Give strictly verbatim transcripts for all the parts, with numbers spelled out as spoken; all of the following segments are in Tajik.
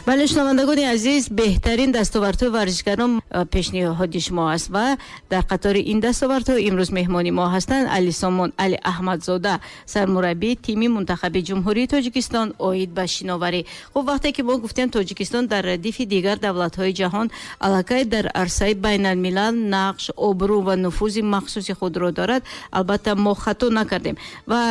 Бале, шунавандагони азиз, беҳтарин дастовардҳои варзишгарон пешниҳоди шумо аст ва дар қатори ин дастовардҳо имрӯз меҳмони мо ҳастанд Алисомон Али Аҳмадзода, сармураббии тими мунтахаби Ҷумҳурии Тоҷикистон оид ба шиноварӣ. Хуб, вақте ки мо гуфтем, Тоҷикистон дар радифи дигар давлатҳои ҷаҳон аллакай дар арсаи байналмилал нақш, обрӯ ва нуфузи махсуси худро дорад, албатта мо хато накардем. Ва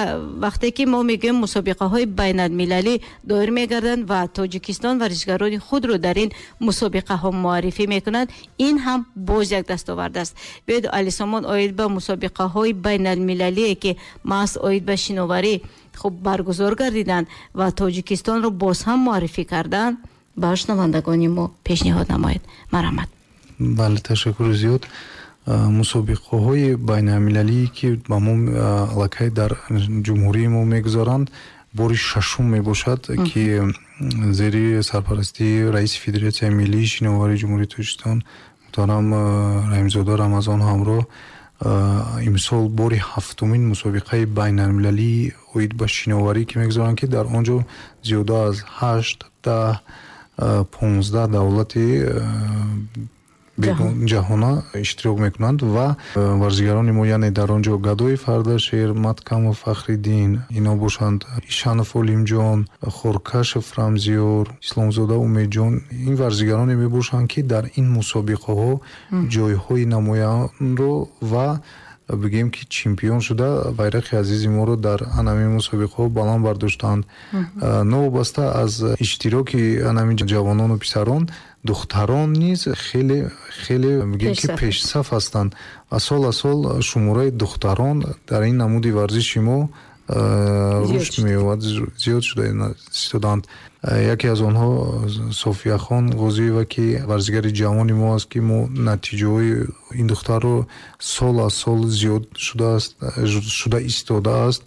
вақте ки мо мегӯем, мусобиқаҳои байналмилалӣ доир мегарданд ва Тоҷикистон варзишгарони худро дар ин мусобиқаҳо муаррифӣ мекунанд, ин ҳам боз як дастовард аст. Биёед, Алисомон, оид ба мусобиқаҳои байналмилалие, ки маҳз оид ба шиноварӣ хуб баргузор гардиданд ва Тоҷикистонро боз ҳам муаррифӣ карданд, ба шунавандагони мо пешниҳод намоед. Марҳамат. Бале, ташаккури зиёд. Мусобиқаҳои байналмилалие, ки ба мо аллакай дар ҷумҳурии мо мегузаранд, бори шашум мебошад, ки зери сарпарастии раиси Федератсияи миллии шиноварии Ҷумҳурии Тоҷикистон муҳтарам Раҳимзода Рамазон ҳамроҳ имсол бори ҳафтумин мусобиқаи байналмилалии оид ба шиноварӣ, ки мегузоранд, ки дар он ҷо зиёда аз ҳашт, даҳ, понздаҳ давлати ҷаҳона иштирок мекунанд ва варзигарони мо, яъне дар он ҷо Гадои Фардашер, Маткамов Фахриддин, ино бошанд, Ишанов Олимҷон, Хоркашев Рамзиёр, Исломзода Умедҷон, ин варзигароне мебошанд, ки дар ин мусобиқаҳо ҷойҳои намоянро ва бигӯем, ки чемпион шуда, байрақи азизи моро дар анамин мусобиқаҳо баланд бардоштанд. Новобаста аз иштироки анамин ҷавонону писарон, духтарон низ хеле хеле, бигӯем, ки пешсаф ҳастанд ва сол аз сол шумораи духтарон дар ин намуди варзиши мо рушд меёбад, зиёд шуда истодаанд. Яке аз онҳо Софияхон Ғозиева, ки варзигари ҷавони мо аст, ки мо натиҷаҳои ин духтарро сол аз сол зиёд шудааст, шуда истодааст.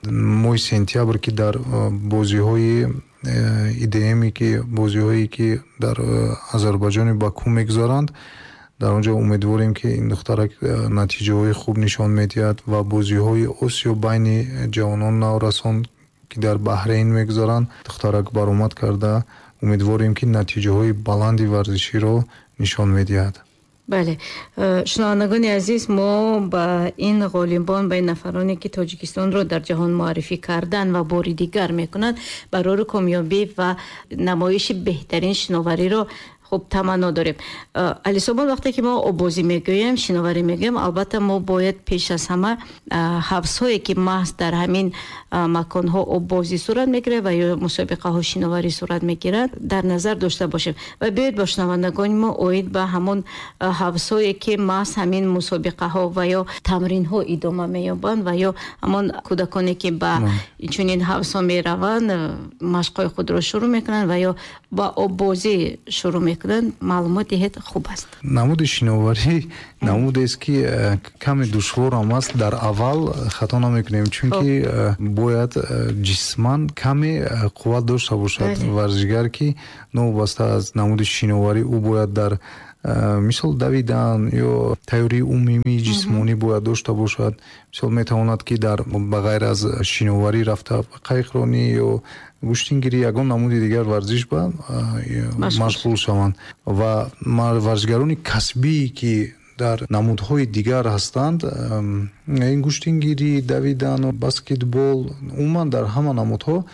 Моҳи сентябр, ки дар бозиҳои И Д М, ки бозиҳое ки дар Озарбойҷони Баку мегузаранд, дар он ҷо умедворем, ки ин духтарак натиҷаҳои хуб нишон медиҳад ва бозиҳои Осиё байни ҷавонон наврасон, ки дар Баҳрейн мегузаранд, духтарак баромад карда, умедворем, ки натиҷаҳои баланди варзиширо нишон медиҳад. Бале, шунавандагони азиз, мо ба ин ғолибон, ба ин нафароне, ки Тоҷикистонро дар ҷаҳон муаррифӣ кардан ва бори дигар мекунанд, барори комёбӣ ва намоиши беҳтарин шиновариро хуб таманно дорем. Алисомон, вақте ки мо оббозӣ мегӯем, шиноварӣ мегӯем, албатта мо бояд пеш аз ҳама ҳавзҳое, ки маҳз дар ҳамин маконҳо оббозӣ сурат мегирад ва ё мусобиқаҳо шиноварӣ сурат мегирад, дар назар дошта бошем. Ва биёед, бо шунавандагони мо оид ба ҳамон ҳавзҳое, ки маҳз ҳамин мусобиқаҳо ва ё тамринҳо идома меёбанд ва ё ҳамон кӯдаконе, ки ба чунин ҳавзҳо мераванд, машқҳои худро шурӯъ мекунанд ва ё ба оббозӣ шурӯъ мекунанд, маълумот диҳед, хуб аст. Намуди шиноварӣ намудест, ки э, каме душворам аст. Дар аввал хато намекунем, чунки э, бояд э, ҷисман каме қувват дошта бошад варзишгар, ки новобаста аз намуди шиноварӣ ӯ бояд дар, мисол, давидан ё тайёрии умумии ҷисмонӣ бояд дошта бошад. Мисол, метавонад, ки дар ба ғайр аз шиноварӣ рафта қайиқронӣ ё гӯштингирӣ, ягон намуди дигар варзиш ба машғул шаванд. Ва варзишгарони касбие, ки дар намудҳои дигар ҳастанд, ин гӯштингирӣ, давидану баскетбол, умуман дар ҳама намудҳо,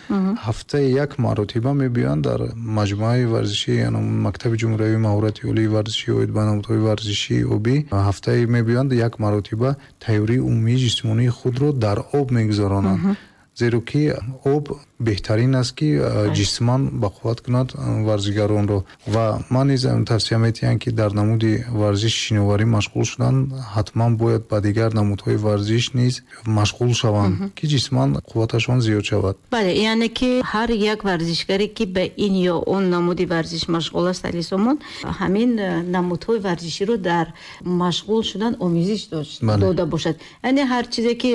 ҳафтаи як маротиба мебиёянд дар маҷмӯаи варзишӣ, мактаби ҷумҳуриявии маҳорати олии варзишӣ оид ба намудҳои варзишии обӣ. Ҳафтае мебиёянд, як маротиба тайёрии умумии ҷисмонии худро дар об мегузаронанд, зеро ки об беҳтарин аст, ки ҷисман бақувват кунад варзигаронро. Ва ман низ тавсия метиҳам, ки дар намуди варзиши шиноварӣ машғул шудан, ҳатман бояд ба дигар намудҳои варзиш низ машғул шаванд, ки ҷисман қувваташон зиёд шавад. Бале, яъне ки ҳар як варзишгаре, ки ба ин ё он намуди варзиш машғул аст, Алисомон, ҳамин намудҳои варзиширо дар машғул шудан омезиш дода бошад. Яъне ҳар чизе, ки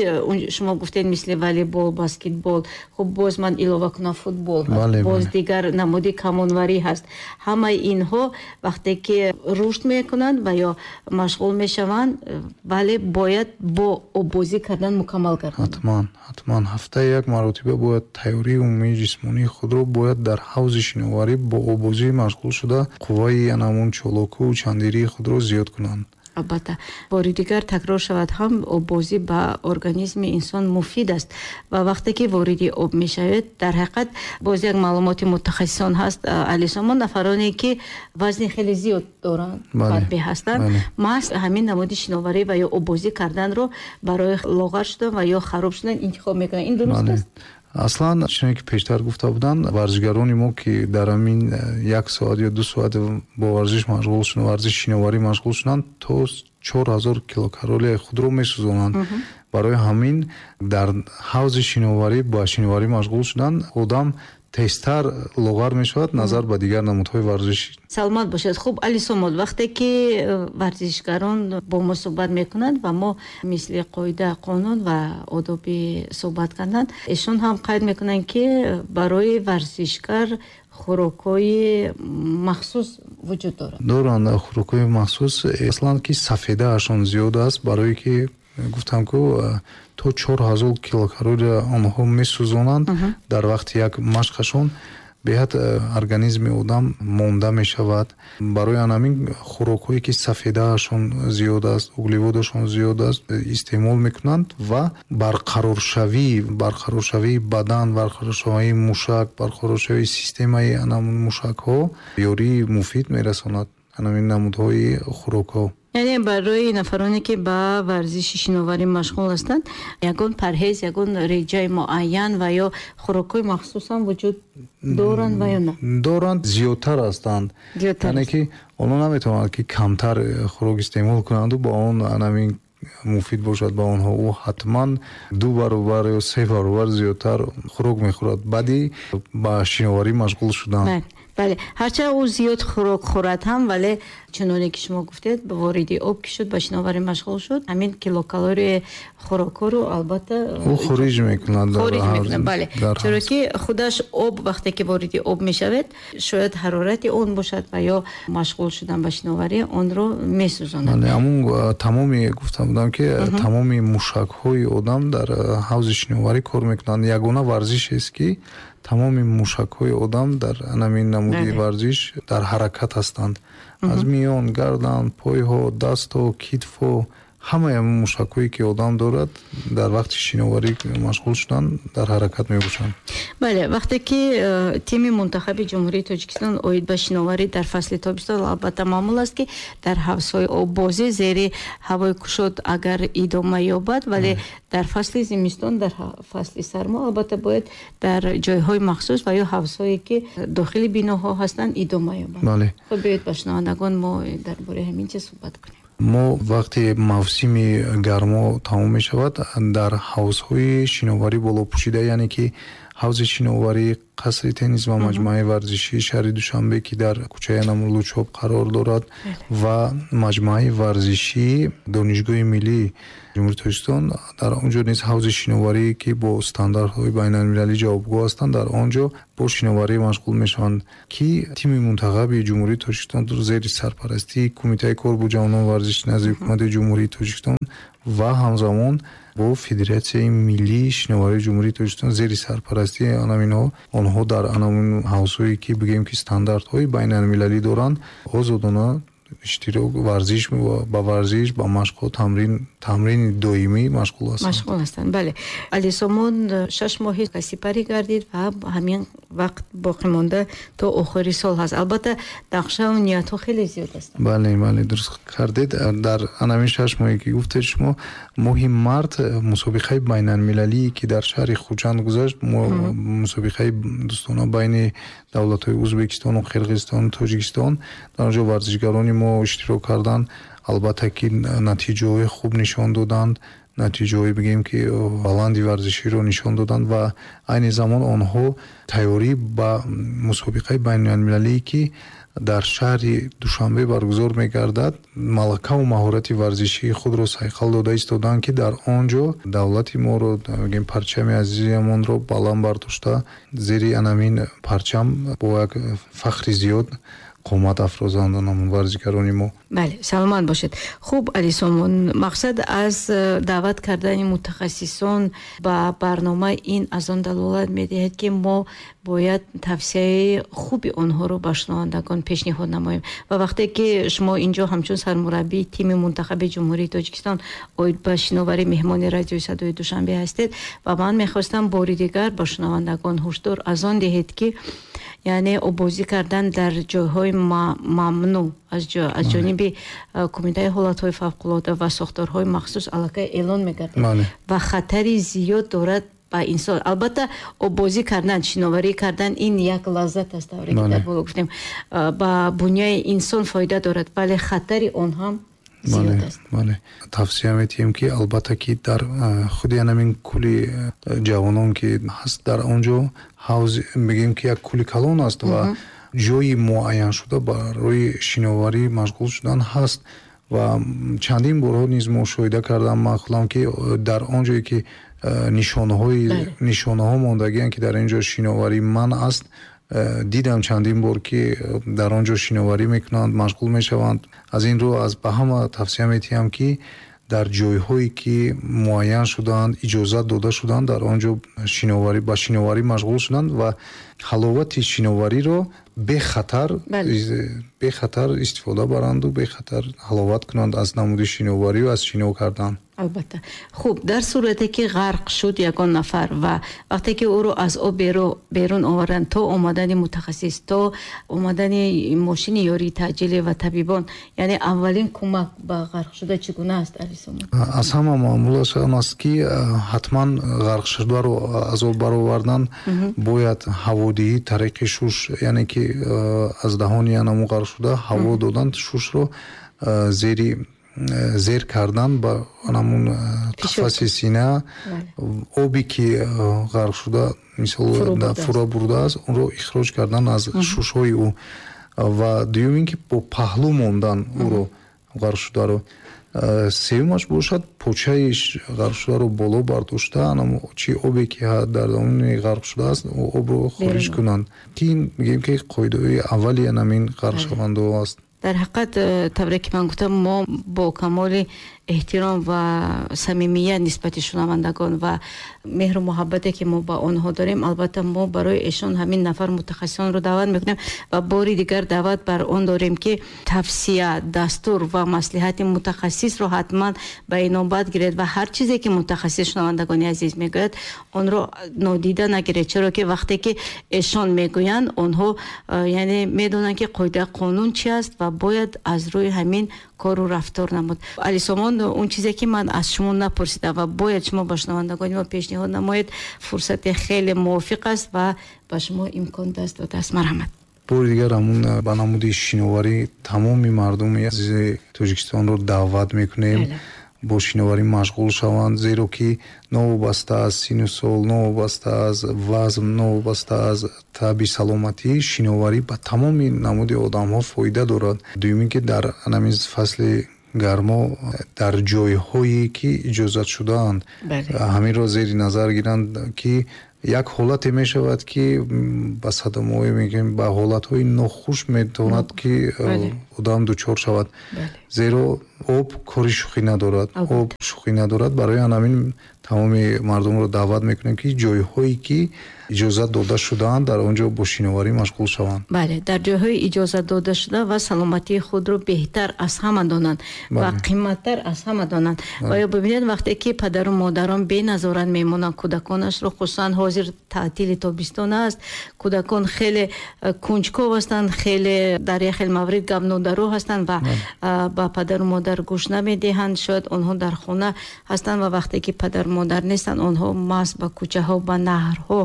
шумо гуфтед, мисли волейбол, Баскетбол, хуб, боз ман илова кунам, футбол ҳаст, боз дигар намуди камонварӣ ҳаст. Ҳамаи инҳо вақте ки рушд мекунанд ва ё машғул мешаванд, вале бояд бо оббозӣ кардан мукаммал гарданд. Ҳатман, ҳатман ҳафтаи як маротиба бояд тайёрии умумии ҷисмонии худро бояд дар ҳавзи шиноварӣ бо оббозӣ машғул шуда, қувваи анамун чолоку чандирии худро зиёд кунанд. Албатта, бори дигар такрор шавад ҳам, оббозӣ ба организми инсон муфид аст ва вақте ки вориди об мешавед, дар ҳақиқат боз як маълумоти мутахассисон ҳаст, Алисомон, нафароне ки вазни хеле зиёд доранд, фарбе ҳастанд, маҳз ҳамин намуди шиноварӣ ва ё оббозӣ карданро барои лоғар шудан ва ё хароб шудан интихоб мекунанд. Ин дуруст аст? Аслан чуноне ки пештар гуфта буданд, варзишгарони мо ки дар ҳамин як соат ё ду соат бо варзиш машғул шуданд, варзиши шиноварӣ машғул шуданд, то чор ҳазор килокалорияи худро месӯзонанд. Барои ҳамин дар ҳавзи шиноварӣ ба шиноварӣ машғул шудан одам тезтар лоғар мешавад назар ба дигар намудҳои варзишӣ. Саломат бошед. Хуб, Алисомон, вақте ки варзишгарон бо мо суҳбат мекунанд ва мо мисли қоида, қонун ва одоби суҳбат кардан, эшон ҳам қайд мекунанд, ки барои варзишгар хӯрокҳои махсус вуҷуд дорад. Доранд хӯрокҳои махсус, аслан ки сафедаашон зиёд аст, барое ки гуфтам ку то чор ҳазор килокалория онҳо месӯзонанд дар вақти як машқашон. Беҳад организми одам монда мешавад. Барои ҳамин хӯрокҳое ки сафедаашон зиёд аст, углеводашон зиёд аст, истеъмол мекунанд ва барқароршавӣ, барқароршавии бадан, барқароршавии мушак, барқароршавии системаи анамун мушакҳо ёрии муфид мерасонад ҳамин намудҳои хӯрокҳо. Яъне барои нафароне ки ба варзиши шиноварӣ машғул ҳастанд, ягон парҳез, ягон реҷаи муайян ва ё хӯрокҳои махсус ҳам вуҷуд доранд ва ё на? Доранд, зиёдтар ҳастанд. Яъне ки онҳо наметавонанд ки камтар хӯрок истеъмол кунанду ба он ҳамин муфид бошад ба онҳо. Ӯ ҳатман ду баробар ё се баробар зиёдтар хӯрок мехӯрад баъди ба шиноварӣ машғул шудан. Бале, ҳарчанд ӯ зиёд хӯрок хӯрад ҳам, вале чуноне ки шумо гуфтед, ба вориди об ки шуд, ба шиноварӣ машғул шуд, ҳамин килокалорияи хӯрокҳоро албатта ӯ хориҷ мекунад. Хориҷ мекунад, бале. Чаро ки худаш об вақте ки вориди об мешавад, шояд ҳарорати он бошад ва ё машғул шудан ба шиноварӣ онро месӯзонад. Бале, ҳамун тамоми гуфта будам ки тамоми мушакҳои одам дар ҳавзи шиноварӣ кор мекунанд. Ягона варзишест ки тамоми мушакҳои одам дар ҳамин намуди варзиш дар ҳаракат ҳастанд. Аз миён, гардан, пойҳо, дастҳо, китфҳо, ҳамаи мушакҳое ки одам дорад дар вақти шиноварӣ машғул шудан дар ҳаракат мебошанд. Бале, вақте ки тими мунтахаби Ҷумҳурии Тоҷикистон оид ба шиноварӣ дар фасли тобистон, албатта маъмул аст ки дар ҳавзҳои оббозӣ зери ҳавои кушод агар идома ёбад, вале дар фасли зимистон, дар фасли сармо албатта бояд дар ҷойҳои махсус ва ё ҳавзҳое ки дохили биноҳо ҳастанд идома ёбад. Бале. Хуб, биёед ба шунавандагон мо дар бораи ҳамин чиз суҳбат кунем. Мо вақте мавсими гармо тамом мешавад, дар ҳавзҳои шиноварӣ болопӯшида, яъне ки ҳавзи шиноварӣ, қасри теннис ва маҷмӯаи варзишии шаҳри Душанбе ки дар кӯчаи Лучоб қарор дорад ва маҷмӯаи варзишии Донишгоҳи миллии Ҷумҳурии Тоҷикистон, дар он ҷо низ ҳавзи шиноварӣ ки бо стандартҳои байналмилалӣ ҷавобгӯ ҳастанд, дар он ҷо бо шиноварӣ машғул мешаванд ки тими мунтахаби Ҷумҳурии Тоҷикистон зери сарпарастии Кумитаи кор бо ҷавонон варзиш назди Ҳукумати Ҷумҳурии Тоҷикистон ва ҳамзамон бо Федератсияи миллии шиноварии Ҷумҳурии Тоҷикистон зери сарпарастии анаминҳо, онҳо дар анамин ҳавзҳое ки бигӯем ки стандартҳои байналмилалӣ доранд, озодона иштирок варзиш ба варзиш ба машқҳо тамрин тамрини доимӣ машғул ҳастанд. Машғул ҳастанд, бале. Алисомон шаш моҳи сипарӣ гардид ва ҳамин вақт боқӣ монда то охири сол ҳаст. Албатта нақшаву ниятҳо хеле зиёд ҳастанд. Бале, бале, дуруст кардед. Дар ҳамин шаш моҳе ки гуфтед шумо, моҳи март мусобиқаи байналмилалие ки дар шаҳри Хуҷанд гузашт, мусобиқаи дӯстона байни давлатҳои Ӯзбекистону Қирғизистону Тоҷикистон, дар он ҷо варзишгарони мо иштирок карданд. Албатта ки натиҷаҳои хуб нишон доданд. Натиҷаҳое бигем, ки баланди варзиширо нишон доданд ва айни замон онҳо тайёрӣ ба мусобиқаи байналмилалие, ки дар шаҳри Душанбе баргузор мегардад, малакаву маҳорати варзишии худро сайқал дода истоданд, ки дар он ҷо давлати моро, бигем, парчами азизамонро баланд бардошта, зери анамин парчам бо як фахри зиёд қомат афрозанд ҳамон варзишгарони мо. Бале, саломат бошед. Хуб, Алисомон, мақсад аз э, даъват кардани мутахассисон ба барнома ин аз он далолат медиҳад, ки мо бояд тавсияи хуби онҳоро ба шунавандагон пешниҳод намоем. Ва вақте ки шумо инҷо ҳамчун сармураббии тими мунтахаби Ҷумҳурии Тоҷикистон оид ба шиноварӣ меҳмони радиои Садои Душанбе ҳастед, ва ман мехостам бори дигар ба шунавандагон ҳушдор аз он диҳед, ки яъне оббозӣ кардан дар ҷойҳои мамнӯъ аз ҷониби Кумитаи ҳолатҳои фавқулода ва сохторҳои махсус аллакай эълон мегардад ва хатари зиёд дорад ба инсон. Албатта, оббозӣ кардан, шиноварӣ кардан ин як лаззат аст, тавре ки дар боло гуфтем, ба буняи инсон фоида дорад, вале хатари он ҳам зиёд аст. Бале, тавсия метиҳем, ки албатта, ки дар худи анамин кӯли ҷавонон, ки ҳаст, дар он ҷо ҳавз, мегӯем, ки як кӯли калон аст ва ҷои муайяншуда барои шиноварӣ машғул шудан ҳаст. Ва чандин борҳо низ мушоҳида кардам ман худам, ки дар он ҷое ки нишонаҳои нишонаҳо мондагианд, ки дар ин ҷо шиноварӣ манъ аст, дидам чандин бор, ки дар он ҷо шиноварӣ мекунанд, машғул мешаванд. Аз ин рӯ аз ба ҳама тавсия метиҳам, ки дар ҷойҳое ки муайян шудаанд, иҷозат дода шуданд, дар он ҷо шиноварӣ ба шиноварӣ машғул шуданд ва ҳаловати шиновариро бехатар бехатар истифода баранду бехатар ҳаловат кунанд аз намуди шиноварию аз шино кардан. Албатта. Хуб, дар сурате ки ғарқ шуд ягон нафар ва вақте ки ӯро аз об берун оварданд, то омадани мутахассис, то омадани мошини ёрии таъҷилӣ ва табибон, яъне аввалин кӯмак ба ғарқшуда чӣ гуна аст, Алисомон? Аз ҳама маъмулаш он аст, ки ҳатман ғарқшударо аз об баровардан бояд ҳаводиҳӣ тариқи шуш, яъне ки аз даҳони анаму ғарқшуда ҳаво додан, шушро зери зер кардан ба ҳамун қафаси сина, обе ки ғарқшуда, мисол, фуро бурдааст, онро ихроҷ кардан аз шушҳои ӯ. Ва дуюм ин ки бо паҳлӯ мондан ӯро, ғарқшударо. Сеюмаш бошад, почаи ғарқшударо боло бардошта, чи обе ки дар домони ғарқ шудааст, обро хориҷ кунанд, ки ин мегӯем, ки қоидаҳои аввали анамин ғарқшавандаҳо аст. Дар ҳақиқат, э, тавре ки ман гуфтам, мо бо камоли эҳтиром ва самимият нисбати шунавандагон ва меҳру муҳаббате ки мо ба онҳо дорем, албатта, мо барои эшон ҳамин нафар мутахассисонро даъват мекунем ва бори дигар даъват бар он дорем, ки тавсия, дастур ва маслиҳати мутахассисро ҳатман ба инобат гиред ва ҳар чизе ки мутахассис, шунавандагони азиз, мегӯяд, онро нодида нагиред, чаро ки вақте ки эшон мегӯянд, онҳо э, яъне медонанд, ки қоида, қонун чи аст ва бояд аз рӯи ҳамин кору рафтор намуд. Алисомон, он чизе ки ман аз шумо напурсидам ва бояд шумо ба шунавандагони мо пешниҳод намоед, фурсати хеле мувофиқ аст ва ба шумо имкон даст додааст. Марҳамат. Бори дигар ҳамун ба намуди шиноварӣ тамоми мардуми азизи Тоҷикистонро даъват мекунем, бо шиноварӣ машғул шаванд, зеро ки новобаста аз сину сол, новобаста аз вазн, новобаста аз таби саломатӣ, шиноварӣ ба тамоми намуди одамҳо фоида дорад. Дуюм ин ки дар ҳамин фасли гармо дар ҷойҳое ки иҷозат шудаанд, ҳаминро зери назар гиранд, ки як ҳолате мешавад, ки ба садамаҳое, мегӯем, ба ҳолатҳои нохуш метавонад, ки одам дучор шавад, зеро об кори шӯхӣ надорад, об шӯхӣ надорад. Барои ҳамин тамоми мардумро даъват мекунем, ки ҷойҳое ки иҷозат дода шудаанд, дар он ҷо бо шиноварӣ машғул шаванд. Бале, дар ҷойҳои иҷозат дода шуда ва саломатии худро беҳтар аз ҳама донанд ва қиматтар аз ҳама донанд. Ва ё бибинед, вақте ки падару модарон беназорат мемонанд кӯдаконашро, хусусан ҳозир таътили тобистон аст, кӯдакон хеле э, кунҷков ҳастанд, хеле дар як хел маврид гапнодон. тундро ҳастанд ва ба падару модар гӯш намедиҳанд. Шояд онҳо дар хона ҳастанд ва вақте ки падару модар нестанд, онҳо маст ба кӯчаҳо, ба наҳрҳо,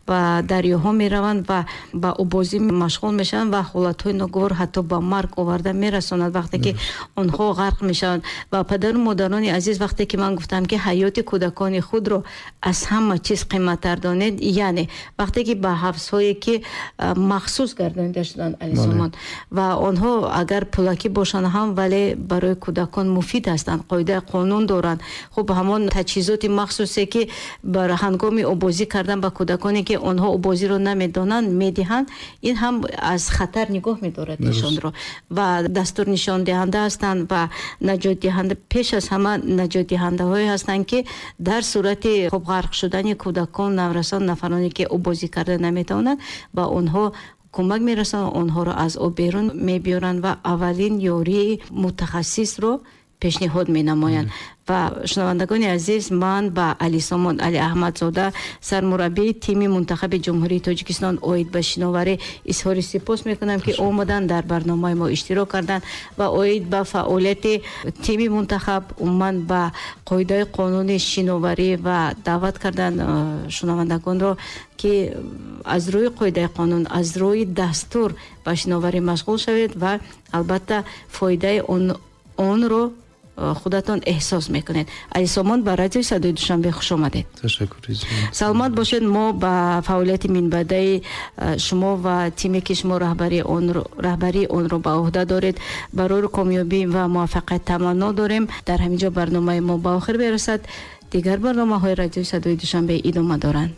ба дарёҳо мераванд ва ба обозӣ машғул мешаванд ва ҳолатҳои ногувор ҳатто ба марг оварда мерасонад вақте ки онҳо ғарқ мешаванд. Ва падару модарони азиз, вақте ки ман гуфтам ки ҳаёти кӯдакони худро аз ҳама чиз қиматтар донед, яъне вақте ки ба ҳавзҳое ки махсус гардонида шуданд, Алисомон, ва онҳо агар пулакӣ бошанд ҳам, вале барои кӯдакон муфид ҳастанд, қоидаи қонун доранд. Хуб, ҳамон таҷҳизоти махсусе ки бар ҳангоми обозӣ кардан ба кӯдаконе ки онҳо обозиро намедонанд медиҳанд, ин ҳам аз хатар нигоҳ медорад эшонро ва дастур нишондиҳанда ҳастанд ва наҷотдиҳанда, пеш аз ҳама наҷотдиҳандаҳое ҳастанд ки дар сурати хуб ғарқ шудани кӯдакон, наврасон, нафароне ки обозӣ карда наметавонанд, ба онҳо кӯмак мерасонанд, онҳоро аз об берун мебиёранд ва аввалин ёрии мутахассисро пешниҳод менамоянд. Ва шунавандагони азиз, ман ба Алисомон Али Аҳмадзода, сармураббии тими мунтахаби Ҷумҳурии Тоҷикистон оид ба шиноварӣ изҳори сипос мекунам, ки омаданд, дар барномаи мо иштирок карданд ва оид ба фаъолияти тими мунтахаб, умуман ба қоидаи қонуни шиноварӣ ва даъват кардан шунавандагонро ки аз рӯи қоидаи қонун, аз рӯи дастур ба шиноварӣ машғул шавед ва албатта фоидаи онро худатон эҳсос мекунед. Алисомон, ба радиои Садои Душанбе хуш омадед. Ташаккур. Саломат бошед. Мо ба фаъолияти минбаъдаи шумо ва тиме ки шумо раҳбарии онро раҳбарии онро ба уҳда доред, барои комёбӣ ва муваффақият таманно дорем. Дар ҳамин ҷо барномаи мо ба охир мерасад. Дигар барномаҳои радиои Садои Душанбе идома доранд.